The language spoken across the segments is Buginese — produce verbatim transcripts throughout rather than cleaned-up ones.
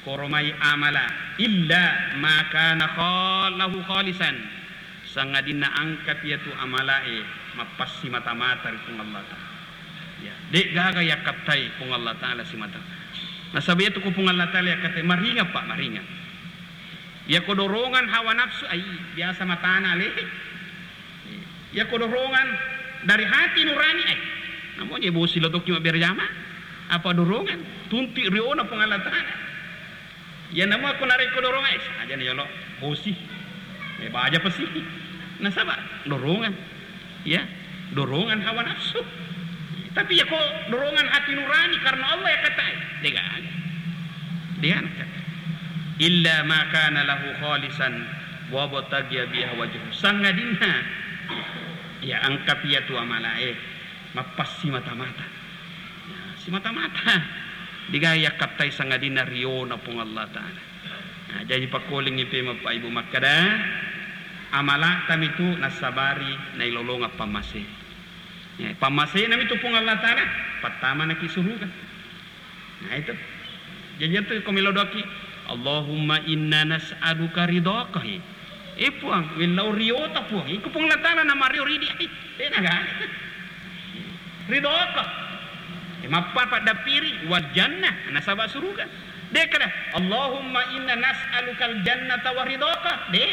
Koromai amala illa ma kana khalahu khalisan, sangadinna angkapi iyatu amalae mappassimata-mata ri Puang Allah Ta'ala. Ya, de' gaga yakkattai Puang Allah Ta'ala simata. Nasaba iyatu ko Puang Allah Ta'ala yakkattai, maringa, Pak, maringa. Iyako dorongan hawa nafsu, ai, biasa matana ale. Iyako dorongan dari hati nurani, ai, namo je bosi lo tokki mabbere jama. Apa dorongan? Tunti riona Puang Allah Ta'ala. Iya, namo ko narekko dorongan, eh, saja ni yolo, bosi. Eh, baja pesi. Nasaba dorongan. Ya, dorongan hawa nafsu. Tapi iyako dorongan hati nurani karena Allah yakkatai, de' gaga. De' gaga. Illa ma kana lahu khalisan wa batagiya biha wajhu. Sangadinna, ya, angkapi iyatu amalae mappassimata-mata. Ya, simata-mata. De' gaga yakkattai sangadinna riona Puang Allah Ta'ala. Nah, jaji pakkolingngi pemeng Pak Ibu makkada, amala'ta mitu nassabari nailolongeng pammase. Eh, pammasena mitu Puang Allah Ta'ala, pattamanaki suruga. Nah, itu. Jaji itu ko melo doaki, "Allahumma inna nas'aluka ridhaka." Eh, Puang, wellau riota, Puang. Iko Puang Allah Ta'ala namario ridi. Eh, de' naga. Ridhaka. Eh, mappa paddappiri wal jannah, nasaba suruga. De' kada, "Allahumma inna nas'alukal jannata wa ridhaka." De'.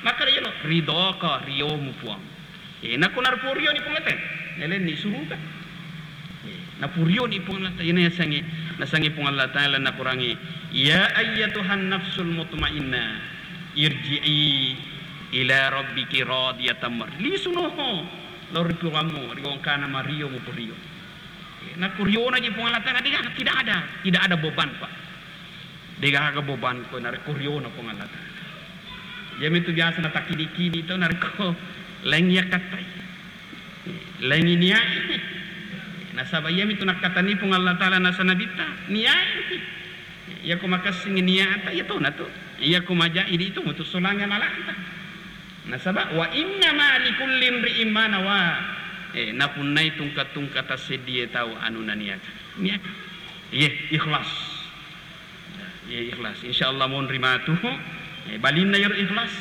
Makkada yolo, "Ridhaka, riomu, Puang." Eh, nakko narupo rioni Puang Allah Ta'ala, nalenni suruga. Eh, napurioni Puang Allah Ta'ala, ina yasengnge, nasengnge Puang Allah Ta'ala nakurangi, "Ya ayyatuhan nafsul mutmainnah, irji'i ila rabbiki radiyatan mar-," lisuno lao ri Puangmu, ri gongkana mario mupurio. Eh, nakuriona ji Puang Allah Ta'ala, tidak, tidak ada, tidak ada beban, Pak. De' gaga beban ko narekko riona Puang Allah Ta'ala. Iyamitu biasa natakkidi-kidi to narekko laing yakkattai. Laing niai. Nasaba iyamitu nakkatani Puang Allah Ta'ala nasa nabitta, niai. Iyako makessing niata, iya tona tu. Iyako maja idi itu mutu solangi amalata. Nasaba wa innama likulli imri'in ma nawa. Eh, napunnai tungka-tungka tasseddie tau anu naniaka. Niaka. Iye, ikhlas. Iya, ikhlas. Insya Allah monri matu. Eh, balinna iyaro ikhlas.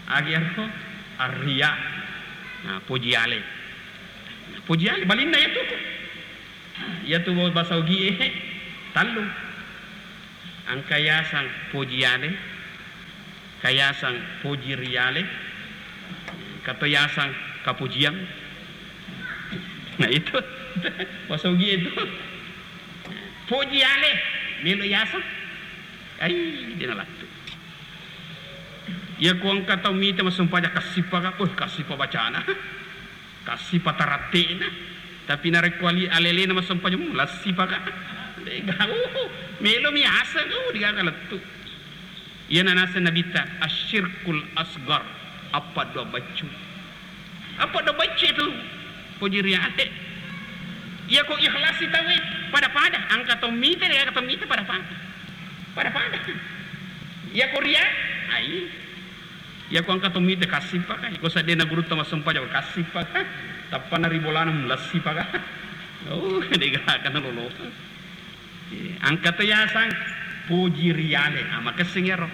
Agi iyaro arriya. Nah, poji ale. Nah, poji ale, balinna iyatu. Nah, iyatu bahasa Ugie, tallu. Engka yasang poji ale, ka yasang poji riale, engka to yasang kapojiang. Nah, itu. Bahasa Ugie itu. Poji ale, melo yaseng. Ai, de' nalattu. Iya ko engka tau mita massempajang kassipa ka, weh, kassipa bacana. Kassipa taratte'na. Tapi narekko ali-, alelena massempajang, hmm, lassipa ka. De' gaga, uh, melo mi yaseng, uh, de' gaga lettu. Iyana naseng Nabitta, "Asyirkul asgar, appaddua baccu." Appaddua baccu itu, poji riale. Iyako ikhlas tauwe, pada-pada, engka to mita, de' engka to mita, pada-pada. Pada-pada. Iyako ria, ai. Iyako engka to mita kassipa ka, iko seddena gurutta massempajang kassipa ka, tappana ri bolana mulessipa ka. Oh, de' gaga nalolongeng. Eh, engka to yaseng poji riale, ah, makessing iyaro.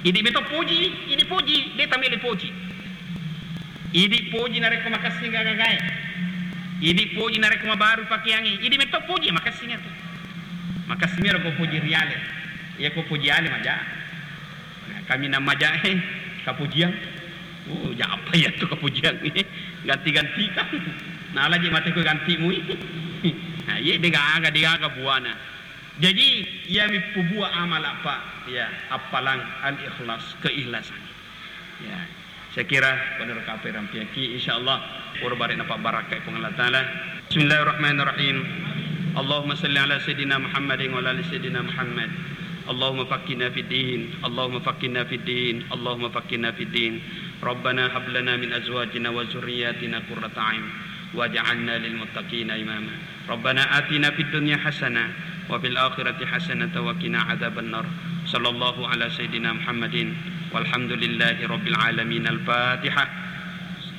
Idi meto poji, idi poji, de' tamele poji. Idi poji narekko makessing gagae. Idi poji narekko mabaru pakeangnge. Idi meto poji, makessing iyatu. Makessing iyaro ko poji riale. Iya ko poji ale maja. Nah, kaminang majae kapojiang. Oh, japa iyatu kapojiang. Ganti-ganti kan. Nah, laji mate ko ganti mui. Nah, iye de' gaga, de' gaga buana. Jaji, iyami pubua amala, Pak. Ya, appalang al-ikhlas, keikhlasan. Ya. Saya kira pada rakape rampiaki, insyaallah, pura bare' napabbarakkai Puang Allah Ta'ala. Bismillahirrahmanirrahim. Allahumma salli ala Sayyidina Muhammadin wa ala ali Sayyidina Muhammad. Allahumma faqqihna fid din. Allahumma faqqihna fid din. Allahumma faqqihna fid din. Rabbana hab lana min azwajina wa dzurriyyatina qurrata a'yun waj'alna lil muttaqina imama. Rabbana atina fid dunya hasanah wa fil akhirati hasanatan wa qina adzabannar. Sallallahu ala sayyidina Muhammadin walhamdulillahi rabbil alamin. Al-Fatihah.